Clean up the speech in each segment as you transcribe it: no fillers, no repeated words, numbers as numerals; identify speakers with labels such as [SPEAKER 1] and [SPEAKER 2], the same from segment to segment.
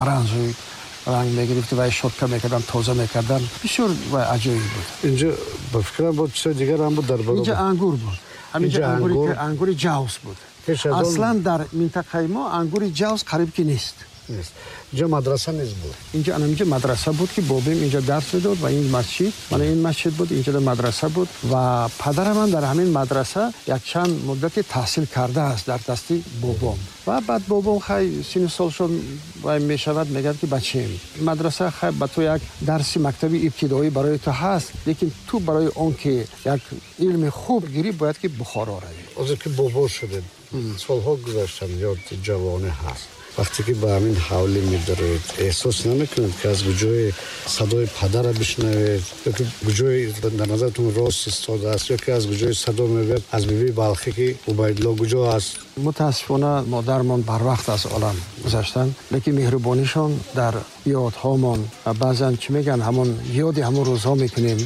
[SPEAKER 1] Оранжевый ранг мегирифт ва щётка мекардан, тоза мекардан. Бисёр ва аҷоиб буд.
[SPEAKER 2] Инҷо, ба фикрам, буд, чизои дигар ҳам буд дар баробар.
[SPEAKER 1] Инҷа ангур буд. Ҳаминҷа ангури ҷавз буд. Аслан дар минтақаи мо ангури ҷавз қариб ки нест.
[SPEAKER 2] Нест. Инҷо мадраса низ буд.
[SPEAKER 1] Инҷо, анаминҷо мадраса буд, ки бобим инҷо дарс медод, ва ин масҷид, мана ин масҷид буд, инҷо мадраса буд ва падарам ҳам дар ҳамин мадраса якчанд муддате таҳсил кардааст дар дасти бобом. Ва баъд бобом, хай, синну солшон вай мешавад, мегӯяд, ки бачаем, мадраса, хай, ба ту як дарси мактаби ибтидоӣ барои ту ҳаст, лекин ту барои он ки як илми хуб гирӣ, бояд ки Бухоро равӣ.
[SPEAKER 2] Ҳозир ки бобо шудед, солҳо гузаштанд, ёд ҷавонӣ ҳаст. Вақте ки ба ҳамин ҳавлӣ медароед, эҳсос намекунед, ки аз куҷои садои падара бишнавед ё ки куҷои дар назаратон рост истодааст, ё ки аз куҷои садо мегӯяд аз бибии Балхӣ, ки Убайдулло куҷо аст?
[SPEAKER 1] Мутаассифона, модармон барвақт аз олам гузаштанд, лекин меҳрубонишон дар ёдҳомон ва баъзан, чӣ мегӯянд, ҳамон ёди ҳамон рӯзҳо мекунем,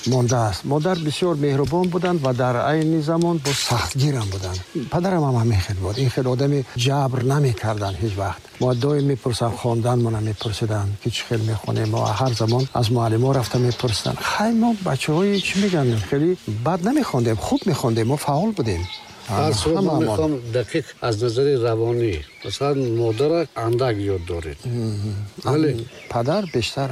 [SPEAKER 1] мондааст. Модар бисёр меҳрубон буданд ва дар айни замон боз сахтгирам буданд. Падарам ҳам ҳамин хел буд. Ин хел одами ҷабр намекарданд ҳеҷ вақт. Мо доим мепурсанд, хонданмона мепурсиданд, ки чӣ хел мехонем. Мо ҳар замон аз муаллимо рафта мепурсиданд. Хай, мо бачаҳои, чӣ мегӯянд, хеле бад намехондем, хуб мехондем, мо фаъол будем.
[SPEAKER 2] Ҳар сурат, ман мехоҳам дақиқ аз назари равонӣ, масалан, модара андак ёд доред, вале
[SPEAKER 1] падар бештар.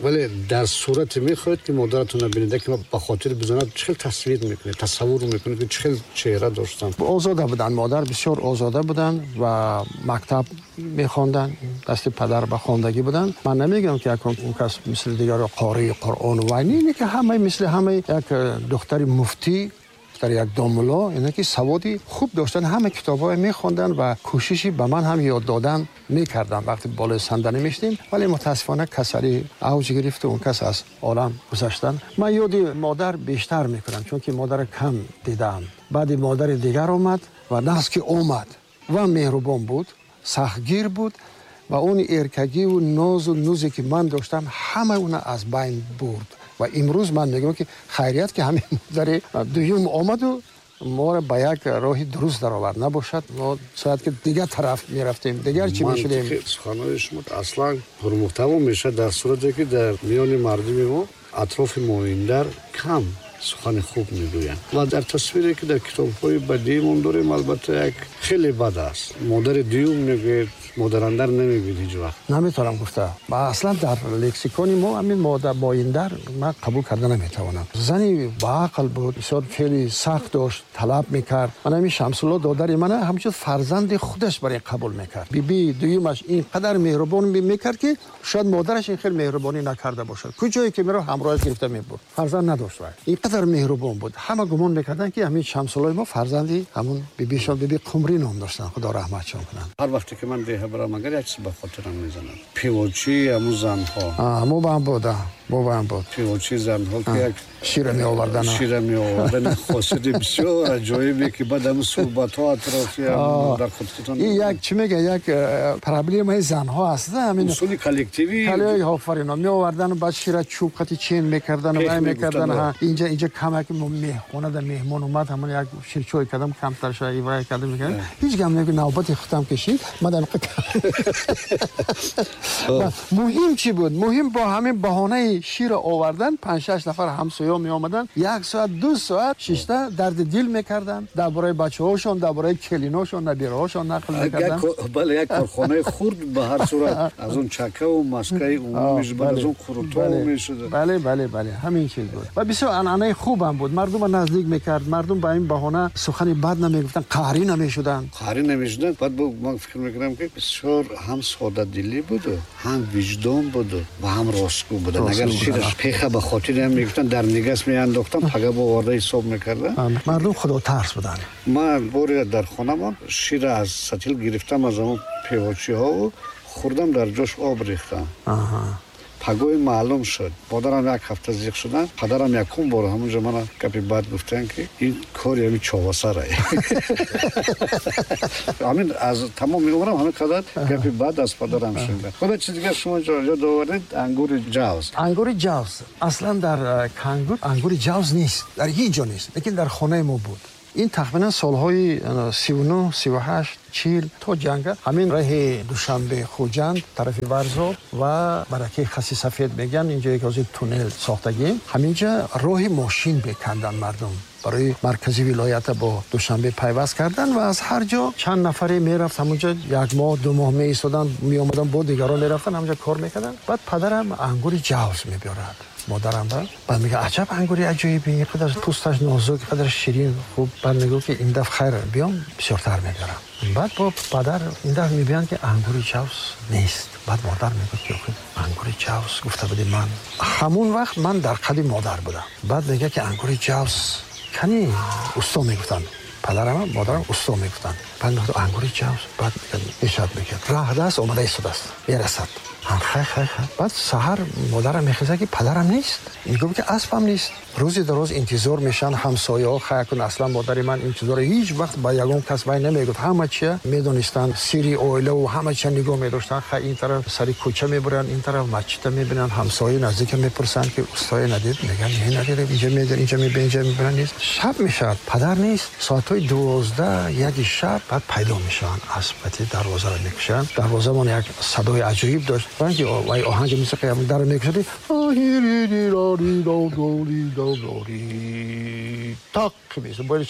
[SPEAKER 2] Вале дар сурате мехоҳед, ки модаратонро бинед, ки ба хотир бизанад, чӣ хел тасвир мекунед, тасаввур мекунед, ки чӣ хел чеҳра доштанд?
[SPEAKER 1] Озода буданд. Модар бисёр озода буданд ва мактаб мехонданд, дасти падар ба хондагӣ буданд. Ман намегӯям, ки он кас мисли дигаро қории Қуръон вай не, ки ҳамаи мисли ҳамаи як духтари муфтӣ, духтари як домулло, ине ки саводи хуб доштанд, ҳама китобҳое мехонданд ва кӯшиши ба ман ҳам ёд додан мекарданд, вақте болои сандалӣ мешидем. Вале мутаассифона, касалӣ авҷ гирифту он кас аз олам гузаштанд. Ман ёди модар бештар мекунам, чунки модара кам дидаам. Баъди модари дигар омад ва нағз ки омад ва меҳрубон буд, сахтгир буд ва он эркагиву нозу нузе, ки ман доштам, ҳама уна аз байн бурд. Ва имрӯз ман мегӯям, ки хайрият, ки ҳамин модари дуюм омаду моро ба як роҳи дуруст даровард. Набошад, мо шояд ки дигар тараф мерафтем, дигар чӣ мешудем.
[SPEAKER 2] Суханҳои шумо аслан пурмуҳтаво мешавад дар сурате, ки дар миёни мардуми мо атрофи моиндар кам сухани хуб мегӯянд ва дар тасвире, ки дар китобҳои бадиимон дорем, албатта, як хеле бад аст. Модари дуюм мегӯед, модарандар намегӯед ҳеҷ вақт.
[SPEAKER 1] Наметавонам гуфта. Аслан дар лексикони мо ҳамин моиндар ман қабул карда наметавонам. Зани баақл буд, бисёр феъли сахт дошт, талаб мекард. Ман ҳамин Шамсулло додари мана ҳамчун фарзанди худаш барои қабул мекард. Бибии дуюмаш ин қадар меҳрубон мекард, ки шояд модараш ин хел меҳрубонӣ накарда бошад. Куҷое ки меро, ҳамроҳаш гирифта мебурд. Фарзанд надошт вай, ин қадар меҳрубон буд. Ҳама гумон мекарданд, ки ҳамин Шамсуллои мо фарзанди ҳамун бибишон, биби Қумрӣ ном доштанд, худо раҳматшон кунанд.
[SPEAKER 2] Ҳар вақте ки ман деҳа барам, агар як чиз ба хотирам мезанад, пивочии ҳамун занҳо.
[SPEAKER 1] Мо буд, бобаам буд.
[SPEAKER 2] Пивочии занҳо, ки як
[SPEAKER 1] шира меовардан.
[SPEAKER 2] Шира меовардан, хосияти бисёр аҷоибе, ки баъд ҳамун суҳбатҳо атрофи дар хотиртон.
[SPEAKER 1] Ин як, чӣ мега, як проблемаи занҳо аст.
[SPEAKER 2] Ҳамин усули коллективӣ.
[SPEAKER 1] Офарин, меовардан, баъд шира чӯб қати чен мекардан, вай мекардан. Инҷа камак меҳхонада меҳмон омад, ҳамон як ширчой кардам, камтар ша вай кардам. Ҳеҷ гап неки, навбати худам кашид, ман муҳим чӣ буд? Муҳим бо ҳамин баҳонаи шира овардан панҷ-шаш нафар ҳамсоё меомаданд, як соат, 2 соат шишта дарди дил мекарданд, дар бораи бачаҳошон, дар бораи келиношон, набираҳошон нақл мекарданд.
[SPEAKER 2] Бале, як корхонаи хурд ба ҳар сурат аз он чакаву маскаи умумиш, баъд аз он қурутҳо мешуд.
[SPEAKER 1] Бале, ҳамин чиз буд ва бисёр анъанаи хубам буд. Мардумро наздик мекард. Мардум ба ин баҳона сухани бад намегуфтанд, қаҳрӣ намешуданд.
[SPEAKER 2] Қаҳрӣ намешуданд. Баъд ман фикр мекунам, ки бисёр ҳам содадилӣ буду, ҳам виҷдон буду ва ҳам ростгӯ буданд. Агар шираш пеха ба хотири ҳам мегуфтанд, дар нигас меандохтам, пага бо оварда ҳисоб мекардам.
[SPEAKER 1] Мардум худотарс буданд.
[SPEAKER 2] Ман боре дар хонамон шира аз сатил гирифтам, аз ҳамон певочиҳову хӯрдам, дар ҷош об рехтам. Пагоҳи маълум шуд, модарам як ҳафта зиқ шуданд. Падарам якум бор ҳамунҷо мана гапи бад гуфтанд, ки ин кори ҳамин човасара. Ҳамин аз тамоми умрам ҳамин қадар гапи бад аз падарам шунидам. Худо, чиз дигар шумо ёд овардед, ангури ҷавз.
[SPEAKER 1] Ангури ҷавз аслан дар Кангур ангури ҷавз нест, дар ҳеҷ ҷо нест, лекин дар хонаи мо буд. Ин тахминан солҳои 39, 38, 40 то ҷанга ҳамин раҳи Душанбе Хуҷанд тарафи Варзоб ва баракаи Хаси Сафед мегӯянд, инҷое ки ҳозир туннел сохтагием, ҳаминҷа роҳи мошин меканданд мардум барои маркази вилоята бо Душанбе пайваст кардан ва аз ҳар ҷо чанд нафаре мерафт ҳамонҷа, як моҳ 2 моҳ меистоданд, меомаданд, бо дигарон мерафтанд, ҳамонҷа кор мекарданд. Баъд падарам ангури ҷавз мебиёрад модарам ба. Баъд мегӯяд аҷаб ангури аҷоибе, ин қадар пӯсташ нозук, ин қадар ширин, хуб. Баъд мегӯяд ки ин дафъ хайр биём, бисёртар мебиёрам. Баъд бо падар ин дафъ мебиёянд ки ангури ҷавз нест. Баъд модар мегӯяд ки охир ангури ҷавз гуфта будӣ ман. Ҳамон вақт ман дар қади модар будам. Баъд мегӯяд ки ангури ҷавз кани усто мегуфтанд. Падарам модарам усто мегуфтанд. Баъд мегӯяд ангури ҷавз. Баъд мегӯяд мешавад, мегӯяд раҳ даст омада истодааст, мерасад. Хай, хай, хай. Баъд саҳар модарам мехезад ки падарам нест. Мегӯяд ки аспам нест. Рӯзи дароз интизор мешаванд ҳамсояҳо. Хай кун, аслан модари ман интизоро ҳеҷ вақт ба ягон кас вай намегуфт. Ҳама чия медонистанд, сири оилаву ҳама чия нигоҳ медоштанд. Хай ин тараф сари кӯча мебуранд, ин тараф масҷида мебинанд, ҳамсояи наздика мепурсанд ки устое надид? Мегӯянд не, надидем, инҷа медир, инҷа мебинем, инҷа мебинанд, нест. Шаб мешавад, падар нест. Соатҳои 12, 1 шаб баъд пайдо мешаванд. Асп дарвозаро мекушанд. Дарвозамон як садои аҷоиб дошт. Ранги вай оҳанги мусиқӣ ҳам дар мекушад. Тақ мешавад. Бояд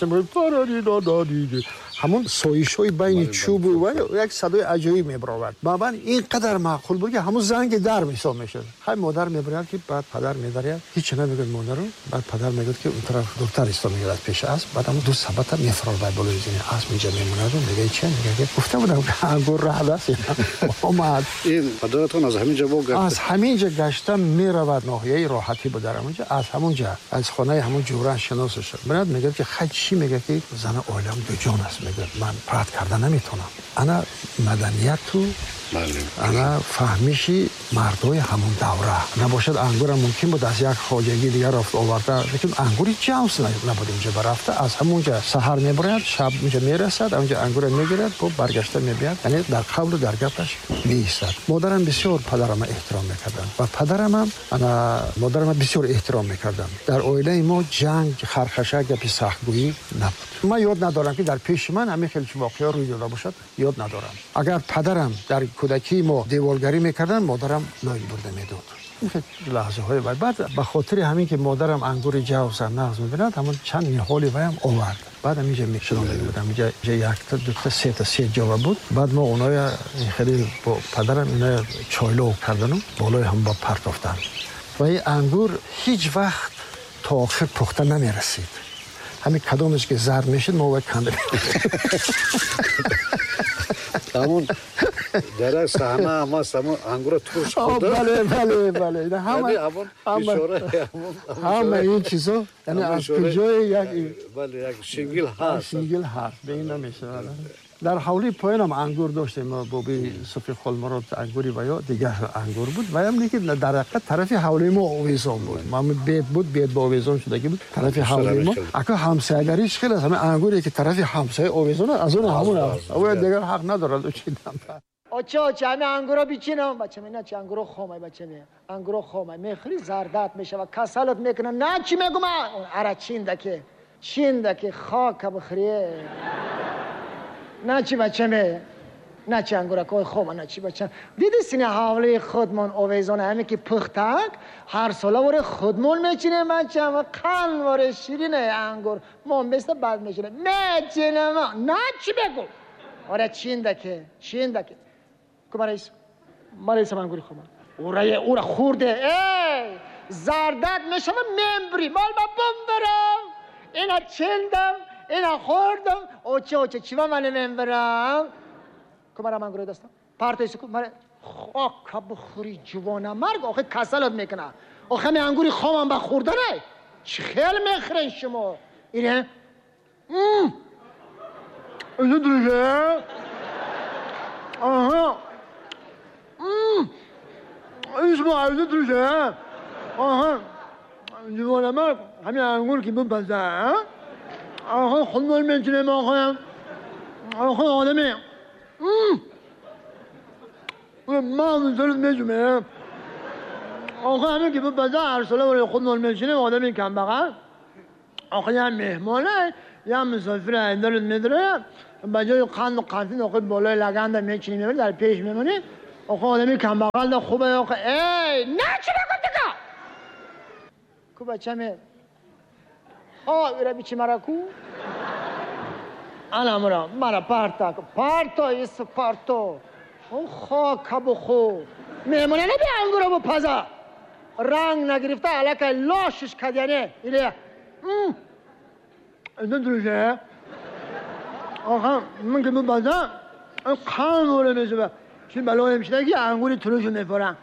[SPEAKER 1] ҳамон соишҳои байни чӯбу вай як садои аҷоиб мебаровард. Ба ман ин қадар маъқул буд ки ҳамон занги дар мисол мешуд. Хай модар мебарад ки баъд падар медаряд. Ҳеҷ намегӯяд модару. Баъд падар мегӯяд ки он тараф духтар исто мегирад пеши асп. Баъд ҳамон ду сабата мефарорад ба болои зини асп инҷа мемонаду мегӯяд чи? Мегӯяд ки гуфта будам ки ангур раҳд аст. Омад.
[SPEAKER 2] Ин падаратон аз ҳамин ҷо бо гашта?
[SPEAKER 1] Аз ҳамин ҷо гашта меравад, ноҳияи Роҳатӣ буд дар ҳамон ҷо. Аз ҳамон ҷо аз хонаи ҳамон ҷӯран шиносаш шуд. Меояд мегӯяд ки хай чӣ? Мегӯяд ки зана оилам дуҷон аст. Мегӯяд ман рад карда наметавонам. Ана маданияту ана фаҳмиши мардҳои ҳамон давра набошад. Ангурам мумкин буд аз як хоҷагии дигар рафт оварда, лекин ангури ҷавз набуд инҷа барафта. Аз ҳамонҷа саҳар мебарояд, шаб инҷа мерасад, ҳамонҷа ангура мегирад, бо баргашта мебиёд, яъне дар қавлу дар гапаш меистад. Модарам бисёр падарама эҳтиром мекарданд ва падарамам ана модарама бисёр эҳтиром мекарданд. Дар оилаи мо ҷанг, хархаша, гапи сахтгӯӣ набуд. Ман ёд надорам ки дар пеши ман ҳамин хел воқеа рӯй дода бошад, ёд надорам. Агар падарам дар кӯдакии мо деворгарӣ мекарданд, модарам лой бурда медод. Лаҳзаҳои баъд ба хотири ҳамин ки модарам ангури ҷавза нағз мебинад, ҳамон чанд ниҳоли ваям овард. Баъд ҳаминҷа мешунонда будам. Инҷа якта, дута, сета, се ҷова буд. Баъд мо оноя хеле бо падарам иноя чойлов кардану болои ҳам ба партофтан. Ва ин ангур ҳеҷ вақт то охир пухта намерасид. Ҳамин кадомеш ки зард мешид, мо вай канда
[SPEAKER 2] ҳамон дар як саҳна ҳама ҳамон ангура турш хӯрда.
[SPEAKER 1] Бале, бале, бале. Ҳама ин чизо, яъне аз куҷое як
[SPEAKER 2] бале, як шингил ҳаст.
[SPEAKER 1] Шингил ҳаст, ба ин намешавад. Дар ҳавлии поёнам ангур доштем, боби Суфи Холмурод ангури ва ё дигар ангур буд. Ваям лекин дар ҳақиқат тарафи ҳавлии мо овезон буд. Ман бед буд, бед бо овезон шудагӣ буд. Тарафи ҳавлии мо. Ака ҳамсоягариш хеле аст. Ҳамин ангуре ки тарафи ҳамсоя овезон аст, аз он ҳамон аст. Ӯ дигар ҳақ надорад учидан.
[SPEAKER 3] Оча, оча, ҳамин ангуро бичинам. Бача, на чи ангуро хомай, бача, ангуро хомай. Мехӯри зардат мешавад, касалат мекунад. На чи мегӯм? Ара чиндаке, чиндаке хока бихӯрие. На чи бача ме, на чи ангуракҳои хома, на чи бача. Диди сини ҳавлии худмон овезона, ҳаме ки пухтак, ҳар сола воре худмон мечинем бача, ва қанд воре ширине ангур. Мо места баъд мечинем. Мечинем, на чи бегӯ? Оре чиндаке, чиндаке. Ку марайс, марайсам ангури хома. Урае, ура хурде, эй! Зардат мешава мембри, мол ба бумбарам. Ина чиндам, ина хӯрдам. Оча, оча, чӣ ба мане мембарам? Ку марам ангури дастам? Партоиси ку маре хока бихӯри ҷувона марг, охи касалат мекуна. Охи ҳами ангури хомам ба хӯрдане? Чӣ хел мехӯрен шумо? Ине? Ине друже? Аҳа. Исмоил друже? Аҳа. Ҷувона марг, ҳами ангур ки бипаза, آخه خودمون میتونیم آخه آخه آدمی ما میتونیم میتونیم آخه همین که به بازار هر ساله برای خودمون میشینیم آدمی کم بغل آخه یه مهمانه Я мусофир айдарат медароям, ба ҷои қанду қанфин охи болои лаганда мечинӣ, мебарӣ, дар пеш мемонӣ. Охо, одами камбағал хубе. Охо, эй, начи бакун, ку бачаме о ира бичи мара ку ана мара мара парта парто ис парто. Хока бухо, меҳмона наби ангура бупаза, ранг нагирифта аллакай лошиш кадяне или друже. Оха, ман ки бупаза, қан воре мешава, чи балоем шида ки ангури турушу мефорам.